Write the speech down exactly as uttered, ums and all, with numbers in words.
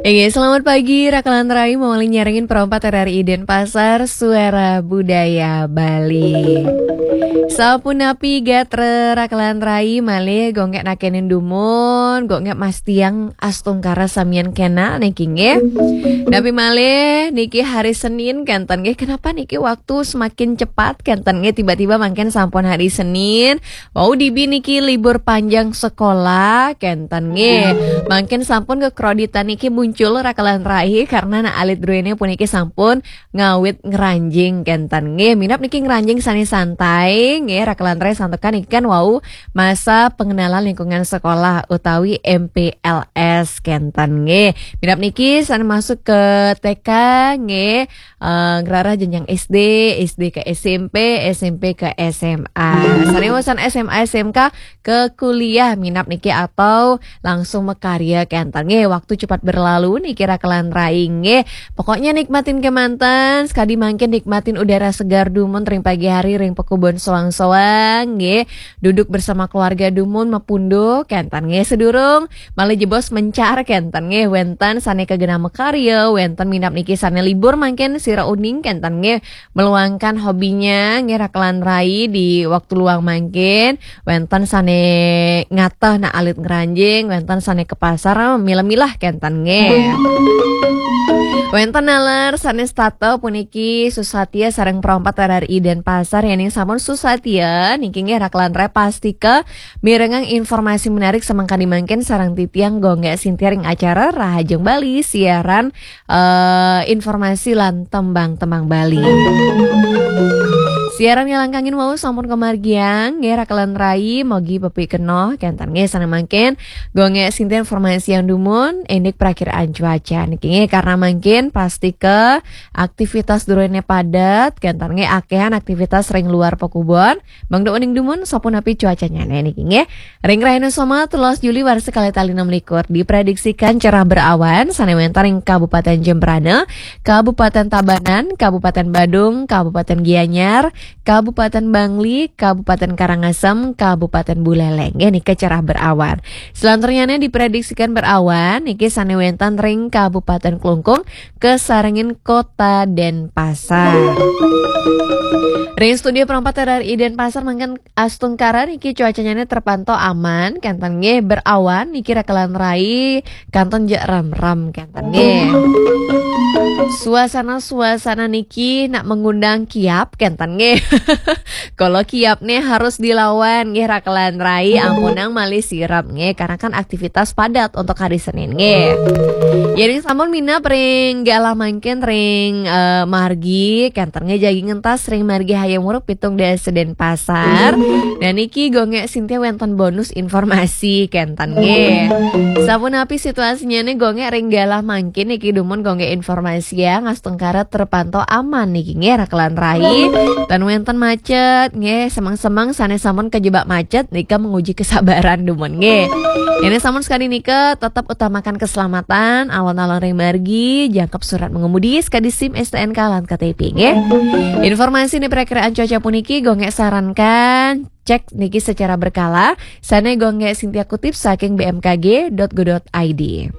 Inggih, selamat pagi, Rakalan Rai, mawali nyarengin Pro empat R R I Denpasar, Suara Budaya Bali. Sapunapi gatra Rakalan Rai, malih Gung Gek nakenin dumun, Gung Gek mastiang astungkara samian kena niki nggih. Napi malih niki hari Senin kenten nggih, kenapa niki waktu semakin cepat kenten nggih, tiba-tiba mangkin sampun hari Senin, Wau dibi niki libur panjang sekolah kenten nggih. Mangkin sampun kekroditan niki muncul Rakalan Rai karena nak alit druene puniki sampun ngawit ngranjing kenten nggih. Minab niki ngranjing sane santai nggih Rakalan Rai, santukan niki kan wau masa pengenalan lingkungan sekolah utawi M P L S kenten nggih. Minab niki sane masuk ke T K nggih, eh, ngrarah jenjang S D, S D ke S M P, S M P ke S M A. Sane usan S M A, S M K ke kuliah minab niki atau langsung makarya kenten nggih. Waktu cepat berlalu niki Rakalan Rai nggih. Pokoknya nikmatin kemanten, sekadi mangkin nikmatin udara segar dumun ring pagi hari ring pekubon soang-soang nggih. Duduk bersama keluarga dumun mapunduh kenten nggih. Sedurung malih jebos mencar kenten nggih, wenten sane kagena makarya, wenten minab niki sane libur mangkin sira uning kenten nggih, meluangkan hobinya nggih Rakalan Rai di waktu luang mangkin, wenten sane ngateh nak alit ngranjing, wenten sane ke pasar milah-milah kenten nggih. Wenten naler sane setata puniki susatia sareng Pro empat R R I Denpasar, yening sampun susatia niki nggih Rakalan Rai pastika mirengang informasi menarik samangkadi mangkin sareng titiang Gung Gek Sintia ring acara Rahajeng Bali, siaran, eh, informasi lan tembang-tembang Bali. Siaran ngalangkangin wau sampun kamargiang nggih Rakalan Rai, mogi pepikenoh kenten nggih. Sane mangkin Gung Gek Sintia informasiang dumun indik prakiraan cuaca niki nggih, karena mangkin pastika aktivitas druene padat kenten nggih, akehan aktivitas ring luar pekubon. Mangda uning dumun sapunapi cuacanyane niki nggih. Ring rahina Soma, telulas Juli warsa kalih tali enam likur, diprediksikan cerah berawan sane wenten ring Kabupaten Jembrana, Kabupaten Tabanan, Kabupaten Badung, Kabupaten Gianyar, Kabupaten Bangli, Kabupaten Karangasem, Kabupaten Buleleng. Nggih, nika cerah berawan. Selanturnyane diprediksikan berawan niki sane wenten ring Kabupaten Klungkung, kasarengin Kota Denpasar. Ring studio Pro empat R R I Denpasar mangkin astungkara niki cuacanyane terpantau aman, kenten nggih, berawan niki Rakalan Rai, kenten ja remrem kenten nggih. Suasana-suasana niki nak mengundang kiap kenten nggih. Kalau kiap nih harus dilawan nggih Rakalan Rai, ampunang malih sirep nggih, karena kan aktivitas padat untuk hari Senin nggih. Yening sampun minab ring galah mangkin ring, eh, margi kenten nggih, jagi ngentas ring margi Hayam Wuruk pitung dasa Denpasar. Dan niki Gung Gek Sintia wenten bonus informasi kenten nggih. Sapunapi situasinyane Gung Gek ring galah mangkin niki dumun Gung Gek informasiang astungkara terpantau aman niki nggih Rakalan Rai. Tan wenten macet nggih, semeng-semeng sane sampun kejebak macet nika menguji kesabaran dumun nggih. Ini sampun sekali nika tetap utamakan keselamatan, alon-alon ring margi, jangkep surat mengemudi, sekadi SIM, STNK lan KTP nggih. Informasi ni perakiraan cuaca puniki Gung Gek sarankan cek niki secara berkala, sane Gung Gek Sintia kutip saking B M K G dot go dot I D.